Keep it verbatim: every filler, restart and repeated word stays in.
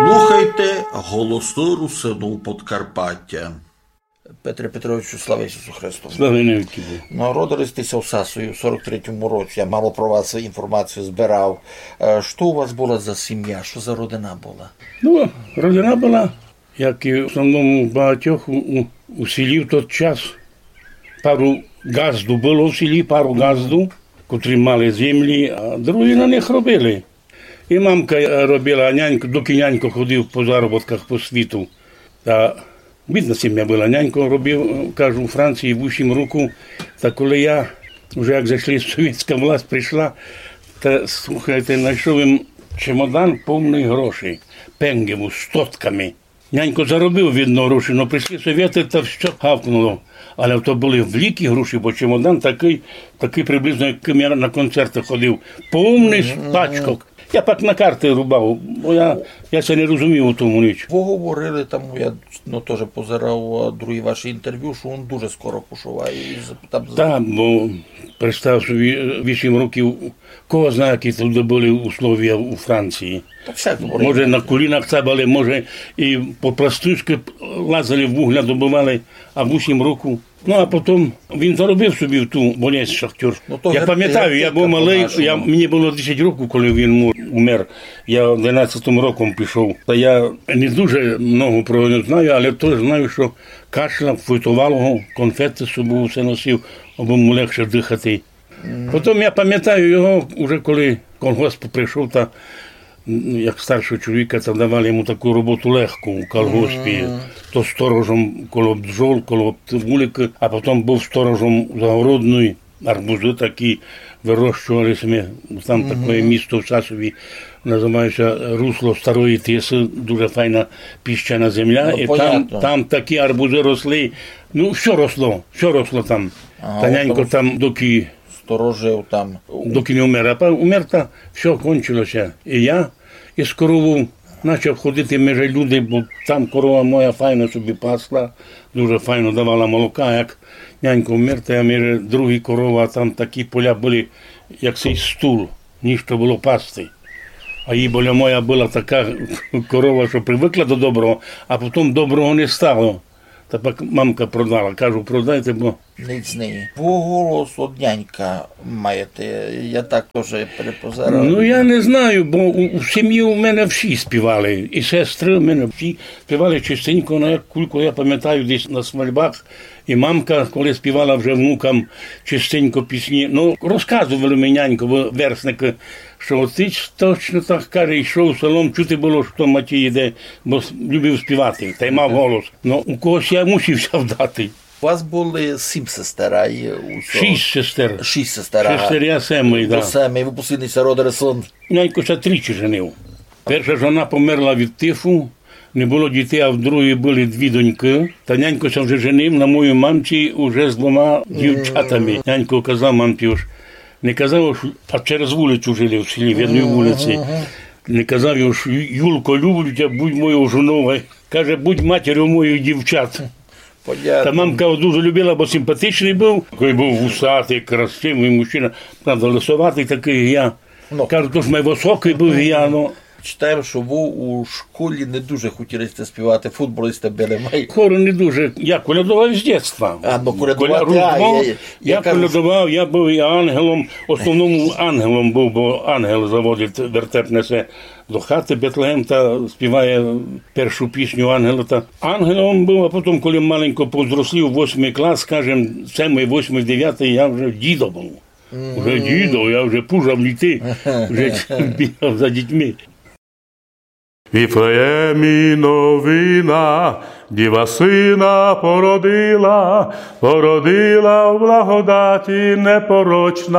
Слухайте Голосы Русинув Подкарпатя. Петре Петровичу, слава Ісусу Христу. Слава навікы Богу. Народили сьте ся в Сасові в сорок третьому році. Я мало про вас інформацію збирав. Е, што у вас была за сімя? Што за родина была? Ну, родина была, як і в основному багатьох у, у, у селі в тот час. Пару ґазду было в селі, пару ґазду, котрі мали землі, а другі на них робили. І мамка, е, робила, а нянько, докі нянько ходив по заробітках по світу. Та бідна сімя была. Нянько робив, е, кажу, у Франції вісім років. Та коли я, вже як зайшли, совєтська власть прийшла, та, слухайте, знайшов им чемодан повный грошей, пенгів, стотками. Нянько заробив, видно, гроші, но прийшли совєты, та всьо гавкнуло. Але то были великі гроші, бо чемодан такый, такый приблизно, як я на концерты ходив. Повный з пачках. Я пак на карты рубав, бо я, я ся не розумів у тому ніч. Вы говорили там, я, ну, тоже позирав, а, другі ваші інтервю, што он дуже скоро пішов, а і з-, там з- Так, бо представ собі, вісім років, кого знає, які туды были условія у Франції. Та всяк говорить. Може, на колінах цабали, може, і по простушкы лазили, вугля добывали, а вісім років. Ну, а потім він заробив собі в ту болезнь шахтёр. Ну, то я гер-, памятаю, я гертика быв малый, по-нашому. Я, мені было десять років, коли він му-, умер. Я одинадцятым роком пішов. Та я не дуже много про нього знаю, але то знаю, што кашляв, фойтовало го, конфеты з собою все носив, абы му легше дыхати. Потім я памятаю його, уже коли колгосп прийшов, та, м, як старшого чоловіка, та давали йому таку роботу легку у колгоспі. То сторожом коло бджол, коло вуликы, а потім быв сторожом загородної, арбузы такі вирощували сьме. Там таке місто в Сасові, називає ся Русло Старої Тисы, дуже файна піщана земля. Ну, і там, понятно. Там такі арбузы росли. Ну, всьо росло, всьо росло там. Ага. Та нянько там, докі сторожив там. Докі не умер. А па-, умер, та всьо кончило ся. І я із коровов начав ходити межи люди, бо там корова моя файно собі пасла, дуже файно давала молока. Як нянько умер, та я межи другі корова, а там такі поля были, як сей стул, нішто было пасти. А і біля моя была така корова, што привыкла до доброго, а потім доброго не стало. Та пак мамка продала. Кажу, продайте, бо Ніч з неї. Бо голос од нянька маєте, я так тоже перепозирав. Ну, я не знаю, бо у, у сімї у мене всі співали, і сестры у мене всі співали чистенько, ну, як кулько я памятаю, десь на свальбах, і мамка, коли співала вже внукам чистенько пісні, ну, розказовали ми, нянько, бо верстникы, што от тыч точно так, каже, йшов селом, чути было, што Матій іде, бо с-, любив співати, та й мав голос. Ну, у когось я мусив ся вдати. У вас было сім сестер, а і усього? Шість сестер. Шість сестер, ага. Сестер я семый, да. До семый, вы послідній ся родили сон. Нянько ся тричі женив. Перша жона померла від тифу, не было дітей, а в другої были дві донькы. Та нянько ся вже женив на моїй мамці уже з двома дівчатами. Нянько казав мамці, ож не казав, ож, а через вулицю жили в селі, в одній вулиці. Не казав, ож: «Ю-, Юлко, люблю тя, будь моєю жонов». Каже: «Будь матерю моїх дівчат». Понятно. Та мамка його дуже любила, бо симпатичный быв. Такый быв вусатый, красивый мужчина, правда, лисоватый такый, як я. Ну. Кажу, тож май высокый быв, як я, ну. Читаєм, што вы у школі не дуже хотіли сьте співати, футболісты были май. Хору не дуже. Я колядовав з дєтства. А, ну, колядовати, Коля-, а, Різдво, я, я, я я кажу, колядовав, я быв і ангелом, в основному ангелом быв, бо ангел заводить, вертеп несе до хаты, Бетлегем, та співає першу пісню ангела. Та ангелом быв, а потім, коли маленько повзрослів, восьмый клас, скажем, семый, восьмый, девятый, я вже дідо быв. Вже дідо, я вже пужав літи, вже бігав за дітьми. В Вифлеємі новина, діва сина породила, породила в благодаті непорочна.